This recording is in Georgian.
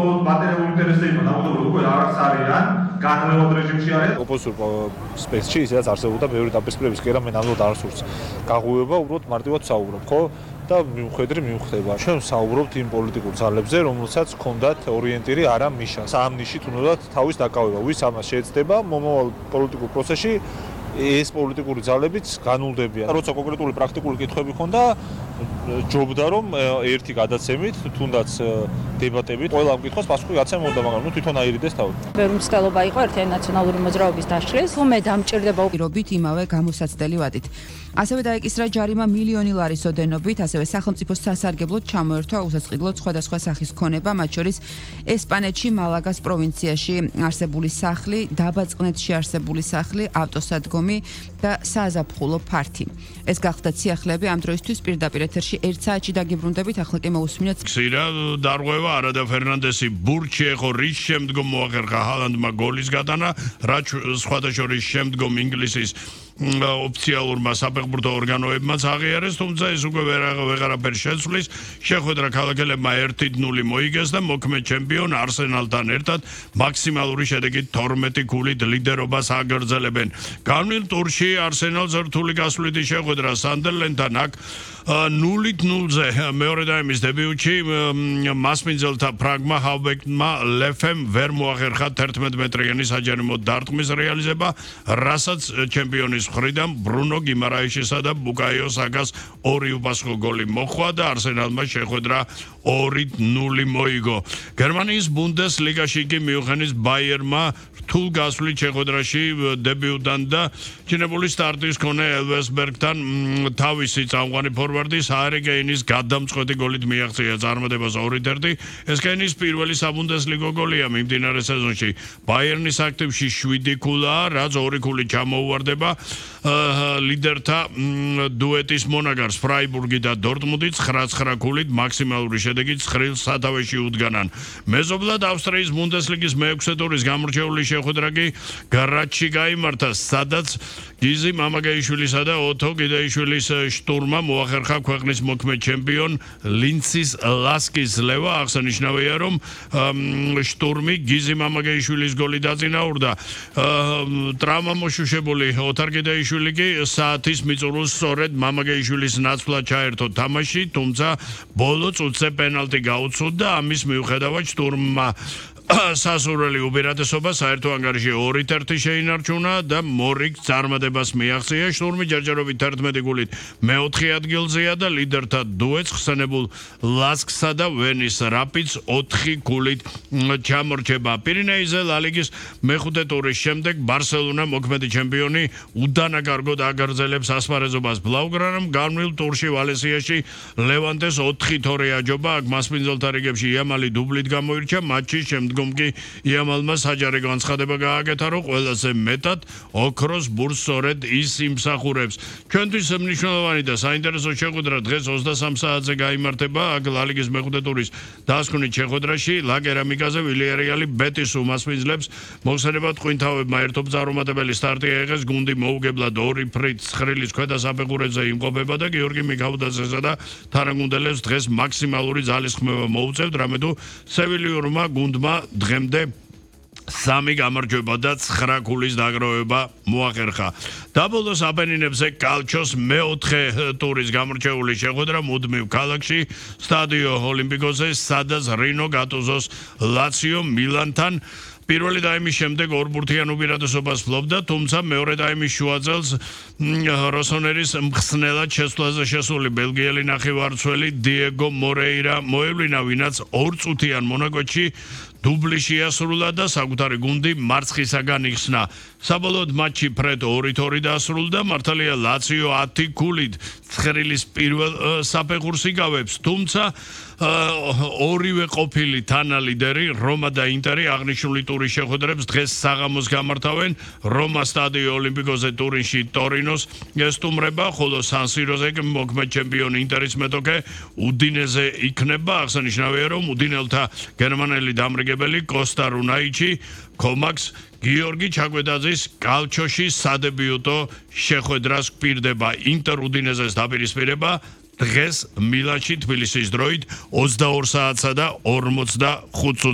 მხოლოდ მატერიალური ინტერესებიდან დამოკიდებული უკვე არც არიან განმეორებულ რეჟიმში არიან. ოპოზიციურ სპეცში ისაც არსებობდა ბევრი დაპირისპირების კი არა მე ნამდვილად არ სურს გაღვივება უბრალოდ მარტივად საუბრობ ხო და მიუხვდება ჩვენ საუბრობთ იმ პოლიტიკურ ძალებზე რომელსაც ჰქონდათ ორიენტირი არა მიშა სამ ნიშით უნდათ თავის დაკავება ვის ამას შეეცდება მომავალ პოლიტიკურ პროცესში ეს პოლიტიკური ძალებიც განულდებიან როცა კონკრეტული პრაქტიკული კითხვები ხონდა ჯობდა რომ ერთი გადაცემით თუნდაც დებატებით ყველა ამ კითხვას პასუხი გაცემოდა მაგრამ ნუ თვითონ აირიდეს თავი ბევრი მცდელობა იყო ერთიანი ნაციონალური მოძრაობის დაშლის თუმე დამჭირდება პირობით იმავე გამოსაცდელი ვადით ასევე დაეკისრა ჯარიმა მილიონი ლარის ოდენობით ასევე სახელმწიფოს სასარგებლოდ ჩამოერთვა უსაწყიდლოდ სხვადასხვა სახის ქონება მათ შორის ესპანეთში მალაგას პროვინციაში არსებული სახლი დაბაწყნეთში არსებული სახლი ავტოსადგომი და საზაფხულო ფართი ეს გახდა ციახლები ამ დროისთვის პირდაპირ ეთერში 1 საათში დაგიბრუნდებით ახლა კი მოусმინეთ ქსირა დარღვევა არადა ფერნანდესი ბურჩი ეხო რის შემდგომ მოახერხა ჰალანდმა გოლის გატანა რაც სხვადასხვა შემდგომ ინგლისის ოფიციალურმა საფეხბურთო ორგანოებმაც აღიარეს თუმცა ეს უკვე ვეღარაფერ შეცვლის შეხვედრა ქალაქელებმა 1-0 მოიგეს და მოქმედ ჩემპიონ არსენალთან ერთად მაქსიმალური შედეგით 12 გოლით ლიდერობას აგრძელებენ განვლილ ტურში არსენალს რთული გასვლითი შეხვედრა სანდერლენდთან აქ 0-0-ზე მეორე დაიმის დებიუტში მასპინძელთა ფრაგმა ჰავბეკმა ლეფემ ვერ მოახერხა 11 მეტრიანი საჯარიმო დარტყმის რეალიზება რასაც ჩემპიონის მხრიდან ბრუნო გიმარაიშისა და ბუკაიო საკას 2 უპასუხო გოლი მოხვა და არსენალმა შეხვედრა 2-0 მოიგო გერმანიის ბუნდესლიგაში კი მიუნხენის ბაიერმა რთულ გასვლით შეხვედრაში დებიუტთან და ჩინებული სტარტის მქონე ელვესბერგთან თავისი წამყვანი ფორვარდი საერგეინის გადამწყვეტი გოლით მიაღწია წარმატებას 2-1 ეს კენის პირველი საბუნდესლიგო გოლია მიმდინარე სეზონში ბაიერნის აქტივში 7 ქულაა რაც 2 ქულით ჩამოუვარდება ლიდერთა დუეტის მონაგარს ფრაიბურგი და დორტმუნდი 9-9 ქულით მაქსიმალური შედეგით 9 სათავეში უდგანან მეზობლად ავსტრიის ბუნდესლიგის მე-6 ტურის გამორჩეული შეხვედრა კი გარაჩში გაიმართა სადაც გიზი მამაგეიშვილისა და ოთო გიდაიშვილის შტურმა მოახერხა ქვეყნის მოქმედ ჩემპიონ ლინცის ლასკის ლევა აღსანიშნავია რომ შტურმი გიზი მამაგეიშვილის გოლი დაწინაურდა ტრავმამოშუშებული ოთარ გიდაიშვილი კი საათის მიწურულს სწორედ მამაგეიშვილის ნაცვლად ჩაერთო თამაში თუმცა ბოლო წუთზე პენალტი გაუცუდა ამის მიუხედავად შტურმმა სასურველი უპირატესობა საერთო ანგარიში 2-1 შეინარჩუნა და მორიგ წარმატებას მიაღწია შტურმი ჯერჯერობით 11 გოლით მე-4 ადგილზეა და ლიდერთა დუეტს ხსენებულ ლასკსა და ვენის რაპიდს 4 გოლით ჩამორჩება პირინეიზე ლა-ლიგის მე-5 ტურის შემდეგ ბარსელონა მოქმედი ჩემპიონი უდანაკარგოდ აგრძელებს ასპარეზობას ბლაუგრანამ განვლილ ტურში ვალენსიაში ლევანტეს 4-2 აჯობა აქ მასპინძელთა რიგებში იამალი დუბლით გამოირჩა მატჩის შემდგომ კი იამალმა საჯარი განცხადება გააკეთა რომ ყველაზე მეტად ოქროს ბურს სწორედ ის იმსახურებს ჩვენთვის მნიშვნელოვანი და საინტერესო შეხვედრა დღეს 23 საათზე გაიმართება აქ ლა-ლიგის მე-5 ტურის დასკვნით შეხვედრაში ლა კერამიკაზე ვილიარეალი ბეტის უმასპინძლებს მოხსენებად ყვინთავებმა ერთობძარომატებელი სტარტი აიღეს გუნდი მოუგებლად 2 ფრით ცხრილის ქვედა საფეხურებზე იმყოფება და გიორგი მიქაუტაძესა და თანაგუნდელებს დღეს მაქსიმალური ძალის ხმევა მოუწევთ რამე თუ სევილიურმა გუნდმა დღემდე 3 გამარჯვება და 9 ქულის დაგროვება მოახერხა. დაბოლოს აპენინებზე კალჩოს მე-4 ტურის გამორჩეული შეხვედრა მუდმივ ქალაქში სტადიო ოლიმპიკოზე სადაც რინო გატუზოს ლაციო მილანთან პირველი დაიმის შემდეგ ორბურთიან უპირატესობას ფლობდა, თუმცა მეორე დაიმის შუაწელს როსონერის მხსნელად შესვლაზე შესული ბელგიელი ნახევარმცველი დიეგო მორეირა მოევლინა, ვინაც 2 წუთიან მონაკოში დუბლი შეასრულა და საკუთარი გუნდი მარცხისაგან იხსნა. საბოლოოდ მატჩი ფრედ 2-2 დაასრულდა, მართალია ლაციო 10 გოლით ცხრილის პირველ საფეხურს იკავებს, თუმცა ორივე ყოფილი თანალიდერი რომა და ინტერი აღნიშნული ტურის შეხვედრებს დღეს საღამოს გამართავენ. რომა სტადიო ოლიმპიკოზე ტურინში ტორინოს ესტუმრება, ხოლო სან-სიროზე მოქმედ ჩემპიონი ინტერის მეტოქე უდინეზე იქნება. აღსანიშნავია, რომ უდინელთა გერმანელი დამრიგებელი კოსტა რუნაიჩი კომაქს გიორგი ჩაკვედაძის კალჩოში სადებიუტო შეხვედრას გვპირდება. ინტერ უდინეზეს დაპირისპირება დღეს მილანში თბილისის დროით 22 საათსა და 45 წუთზე.